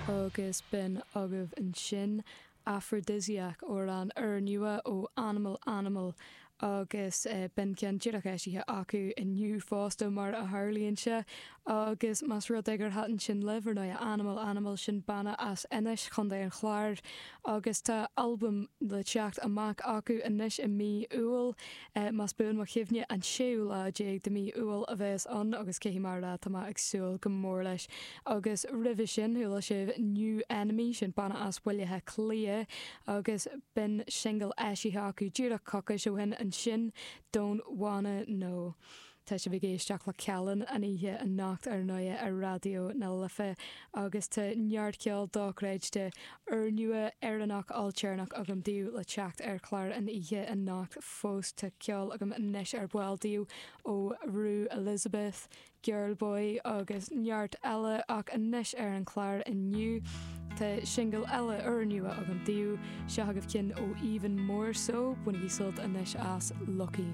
Agus b'in agaibh ansin Aphrodisiac, amhrán úrnua ó Animal Animal agus b'in ceann díreach eisithe acu inniu fosta mar a tharlaíonn sé. Agus más rud é gur thaitin sin libh, ar ndóigh, Animal Animal, sin banna as Inis, Chontae an Chláir, agus tá albam le teacht amach acu anois i mí Iúil, más buan mo chuimhne, an séú lá déag de mí Iúil a bheas ann agus caithfidh mé a rá, tá mé ag súil go mór leis. Agus roimhe sin, chuala sibh New Enemy, sin banna as Baile Átha Cliath, agus b'in singil eisithe acu díreach coicís ó shin ansin, Don't Wanna Know. Tá sibh ag éisteacht le Callin an oíche anocht ar ndóighe ar Raidió na Life agus tá neart ceol dochreidte, úrnua, Éireannach, ailtéarnach agam daoibh le teacht ar chlár an oíche anocht fós. Tá ceol agam anois ar ball daoibh ó Rue Elizabeth, Girlboy agus neart eile ach anois ar an chlár inniu tá singil eile úrnua agam daoibh. Seo agaibh ceann ó Even More So, bainigí sult anois as Lucky.